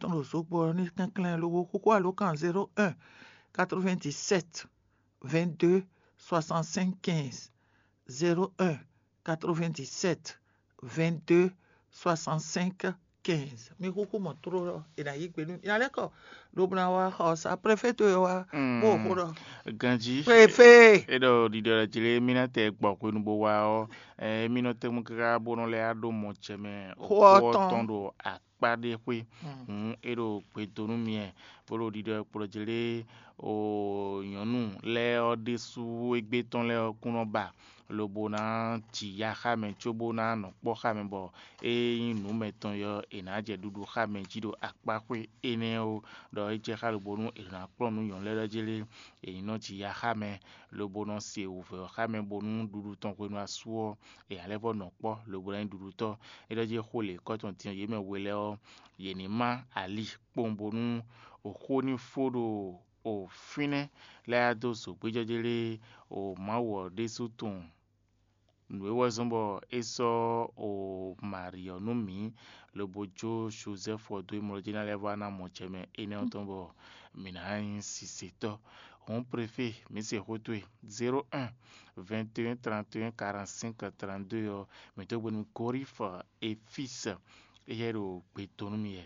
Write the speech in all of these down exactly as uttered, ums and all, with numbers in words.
tɔn ɖo zogbɔ ɔ́ ní kɛnklɛ́n lobo xóxó alǒkan zéro un quatre-vingt-dix-sept vingt-deux soixante-cinq quinze, zéro un quatre-vingt-dix-sept vingt-deux soixante-cinq quinze. Mi xúxú mɔ tló ɔ́, è nǎ yí gbe nú mi. Nya lɛ́ɛ kɔ lobo ná wá xɔ sa préfet e wá bó xó ɖɔ. Ganjí, préfet, é ɖɔ ɖiɖɔ ɖɔ jlé mí ná tɛ gbɔ hwenu bó wá ɔ́, ɛ, mí nɔ tɛ́nkpɔ́n káká bó nɔ lɛ́ ɖó mɔ jɛ mɛ xó ɔ́ tɔn ɖo akpá ɖé xwé. Hǔn é ɖo gbe dó nú mi wɛ, bó ɖo ɖiɖɔ kplɔ́ jlé o nyɔ̌nu lɛ́ɛ ɔ́ ɖésú égbé tɔn lɛ́ɛ ɔ́ kún nɔ ba lobo ná ji ya xá mɛ cóbó ná nɔ kpɔ́ xá mɛ bɔ é nyí nǔ mɛtɔn ɔ́, è nǎ jɛ ɖuɖu xá mɛ jí ɖo akpáxwé énɛ́ ó, ɖɔ é jɛ xá lobo nú è nǎ kplɔ́n nú nyɔ̌nu lɛ́ɛ ɖɔ jlé è ní nɔ ji ya xá mɛ, lobo nɔ se wǔvɛ́ ɔ́ xá mɛ bónú ɖuɖu tɔn hwenu asú ɔ́, è nǎ lɛ́ vɔ́ nɔ kpɔ́ lobo ná nyí ɖuɖutɔ́. É ɖɔ jí xó lě kɔ́ tɔn din ɔ́, yě mɛ we lɛ́ɛ ɔ́, yě ní má ali kpowun bónú xó ní fó ɖo o fínɛ́ lɛ́ɛ dó zǒgbéjɔ́jɛ́ lé o Mawu ɔ́ ɖésú tunwun. Nǔ e wɛ zɔ́n bɔ é sɔ́ o Mari ɔ́ nú mǐ, lobo jó Jozɛ́fu ɔ́ dó émlɔ́ jí ná lɛ́ vɔ́ ná mɔ jɛ mɛ énɛ́ ɔ́ tɔn bɔ mǐ ná nyí sisetɔ́. Hǔn préfé, mǐ se xó towe zéro un vingt et un trente et un quarante-cinq trente-deux ɔ́, mǐ dó gbe nú Gorif Efis, éyɛ́ ɖo gbe dó nú mì wɛ.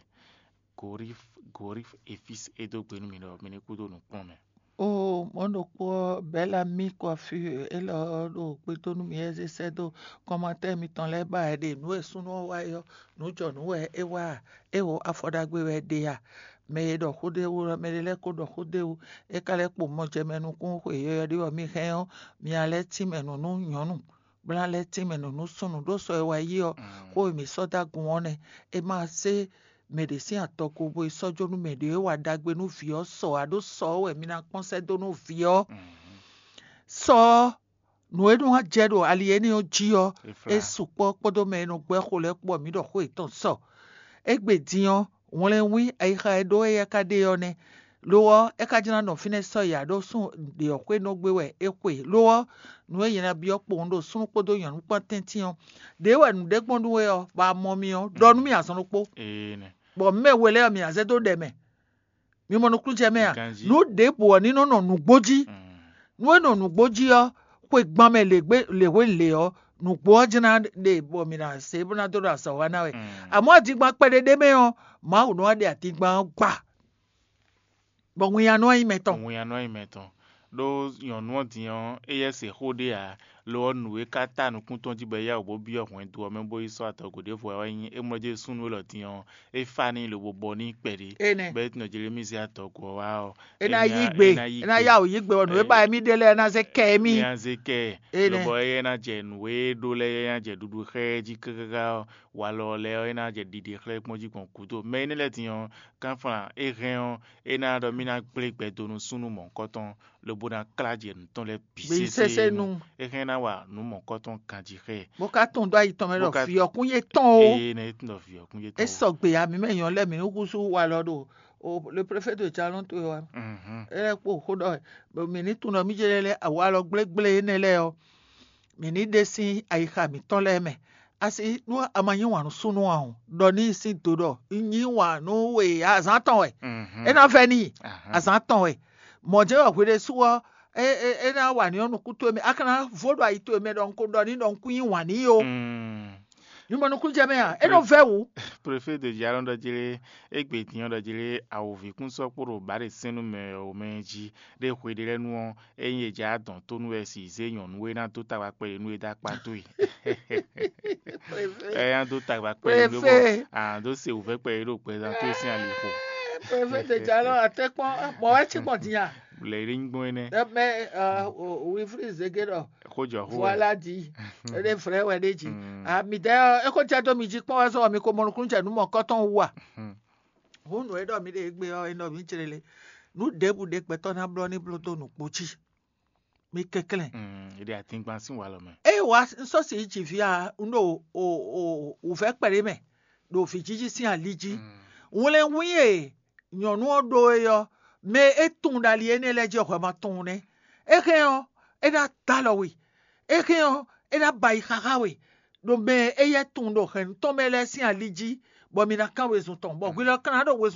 Gorif Gorif Efis é dó gbe nú mì ɖɔ mi ní kú dó nǔkplɔ́n mɛ. O mɔ̌ ɖokpó ɔ́, Bɛ̌lamíi Kwafíi élɔ́ ɔ́ ɖo gbe dó nú mì wɛ zé sɛ́ dó kɔmatɛ́ mitɔn lɛ́ɛ ba wɛ ɖe nǔ e súnnu ɔ́ wa é ɔ́, nǔ jɔ nǔ wɛ é wa a? É wo afɔ ɖagbe wɛ é ɖe a? Mɛ e ɖɔ xó ɖé wú ɔ́, mɛ ɖé lɛ́ɛ ko ɖɔ xó ɖé wú, é ka lɛ́ kpo mɔ jɛ mɛ nukún xwe yɔyɔ́ ɖé bɔ mi hɛn ɔ́, mi ná lɛ́ tínmɛ nǔ nú nyɔ̌nu, bó ná lɛ́ tínmɛ nǔ nú súnnu, ɖó sɔ e wá yi ɔ́, xó e mǐ sɔ́ dó agun ɔ́ nɛ́. È ma zé mɛ ɖě sín atɔgo bo yi sɔ́ jó nú mɛ ɖě e wa ɖagbe nú vǐ ɔ́ sɔ ǎ, ɖó sɔ ɔ́ wɛ mi ná kpɔ́n sɛ́ dó nú vǐ ɔ́. Sɔ ɔ́, nǔ e nɔ wá jɛ ɖo ali énɛ́ ɔ́ jí ɔ́, é sukpɔ́ kpódó mɛ e nɔ gbɛ́ xo lɛ́ɛ kpó ɔ́, mǐ ɖɔ xó yětɔn sɔ. Égbé din ɔ́, wlɛnwín ayixa e ɖó éyɛ́ ka ɖe ɔ́ nɛ́. Lo ɔ́, é ka jló ná nɔ fínɛ́ sɔ́yi ǎ, ɖó súnnu ɖě ɔ́ xwé nɔ gbé wɛ é xwe. Lo ɔ́, nǔ e nyɛ ná byɔ́ kpowun ɖo súnnu kpódó nyɔ̌nu kpán tɛ́ntin ɔ́, ɖě wɛ nǔɖé gbɔn nú we ɔ́, bɔ a mɔ mì ɔ́, ɖɔ nú mì azɔn ɖokpó, bɔ mɛ we lɛ́ɛ ɔ́, mì ná zɛ dó ɖɛ mɛ. Mi mɔ nukúnnú jɛ mɛ a? Nǔ ɖěbǔ ɔ́ ní nɔ nɔ nǔgbó jí. Nú é nɔ nǔgbó jí ɔ́, xwegban mɛ lě hwenu lě ɔ́, nǔgbó ɔ́ jɛ́n ná ɖe bɔ mǐ ná se bó ná dó ɖo azɔ̌ wa ná wɛ. Amɔ̌ adingban kpɛɖé ɖé mɛ ɔ́, Mawu nɔ wá ɖe adingban ɔ́ gba, bɔ winnyá nɔ wá nyí mɛ tɔn. Winnyá nɔ wá nyí mɛ tɔn. Ɖó nyɔ̌nu ɔ́ din ɔ́, éyɛ́ se xó ɖé ǎ, lo ɔ́, nǔ e ka ta nukún tɔn jí bɔ é yá wǔ bó byɔ́ hwɛndo ɔ́ mɛ bó yi sɔ́ atɔgo ɖěvo wá wɛ nyí é mlɔ́ jɛ súnnu élɔ́ din ɔ́, é fá n'i lobo bɔ n'i kpɛɖé. Énɛ́. Bɔ é tunɔ Jelemízi atɔgo ɔ́ wá ɔ́, É ná yí gbe, é ná yá wǔ yí gbe, bɔ nǔ e ba émí ɖe lɛ́ɛ ná zé kɛ émí. Ní a zé kɛ é nɛ́. Lobɔ éyɛ́ ná jɛ nǔ e ɖó lɛ́ɛ, éyɛ́ ná jɛ ɖuɖu xá ɛ jí káká ɔ́, walɔ lɛ́ɛ ɔ́, é ná jɛ ɖiɖe xlɛ́ gbɔn jí gbɔn gǔdo. Mɛ énɛ́ lɛ́ɛ din ɔ́, kánflán é hɛn ɔ́, é ná ɖɔ mì ná gblé gbɛ dó nú súnnu mɔ̌hunkɔtɔn, lobo ná klá jɛ nǔ tɔn lɛ́ɛ bǐ Bǐ sésé sésé nu. Nu. É hɛn ná wa nǔ mɔ̌hunkɔtɔn ganjí xá ɛ. Bó ká tɔn dó ayi tɔn mɛ Bó ɖɔ ká- vǐ ɔ́ kún nyí tɔn o. Eye nɛ é tún ɖɔ vǐ ɔ́ kún jɛ É tɔn. Sɔgbe ya mǐ mɛ nyɔ̌ lɛ́ɛ mǐ ní húzú walɔ ɖo o le préfet de jalɔn towe wa. Mhm. É lɛ́ kpo xó ɖɔ mǐ ní tunɔ mí jɛ lɛ́ awa alɔ gblégblé énɛ́ lɛ́ɛ ɔ́, mǐ ní ɖe sín ayixa mǐtɔn lɛ́ɛ mɛ. Asi nú a ma yí wǎn nú súnnu ǎ o, ɖɔ n'i sín do ɖɔ un yí wǎn nú we azǎn tɔn wɛ. Mhm. É ná vɛ́ n'i Ahan. Azǎn tɔn wɛ. Mɔ̌ jɛ́n wɛ hwe ɖésú ɔ́, é é é ná wa n'i ɔ́ nukún towe mɛ, a ka ná vo ɖo ayi towe mɛ ɖɔ un ko ɖɔ n'i ɖɔ un kún yí wǎn n'i ó. Mm. Mi mɔ nukúnnú jɛ mɛ a? É nɔ vɛ́ wǔ. Préfet de Jalɔn ɖɔ jlé égbé din ɔ́ ɖɔ jlé awǒvi kún sɔ́ kpó ɖo bǎɖe sɛ́n nú mɛ ɔ́ mɛ jí ɖé hwe ɖé lɛ́ɛ nu ɔ́, ényí è jɛ adɔn tó nú wɛ si zé nyɔ̌nu e ná dó tagba kpɛɖé nú é dó akpá towe. Ɛ nya dó tagba kpɛɖé nú bɔ Préfet. A dó se wǔvɛ́ kpɛɖé ɖo gbɛzán towe sín ali xo. Préfet de Jalɔn atɛkpɔn mɔ wɛ cí gbɔn din a? Lɛ ɖé nyí gbɔn énɛ́. Mɛ wifri zege ɖɔ Xó jɔ xó wɛ. Voilà dit. Ele vrɛ wɛ ɖe dzi. Mm. A mi dɛ eko jɛ do mi dzi kpɔn wɛ sɔ mi ko mɔ nukun jɛ nu mɔ kɔtɔn wu a. Mm. Hu nu e ɖɔ mi ɖe egbe ɔ e nɔ mi tsre le. Nu ɖebu ɖe gbɛtɔ na blɔ ni blo do nu kpo dzi. Mi kɛklɛn. Mm, e ɖe atingban sin wa lɔ mɛ. E wa nsɔ si dzi vi a un ɖo o o o vɛ kpɛɖe mɛ ɖo vǐjiji sin ali jí. Mm. Wlɛn wín e nyɔ̌nu ɔ́ ɖó é ɔ́, mɛ e tunwun ɖo ali énɛ́ lɛ́ɛ jí ɔ́ hwɛ ma tunwun nɛ́. É hɛn ɔ́, é ná dó alɔ we. É hɛn ɔ́, é ná ba yi xaxá we. Ɖo mɛ e éyɛ́ tunwun ɖo hɛ̌nnu tɔn mɛ lɛ́ɛ sín ali jí, bɔ mi ná kán wezun tɔn, bɔ hwi lɔ ka ná ɖo wezun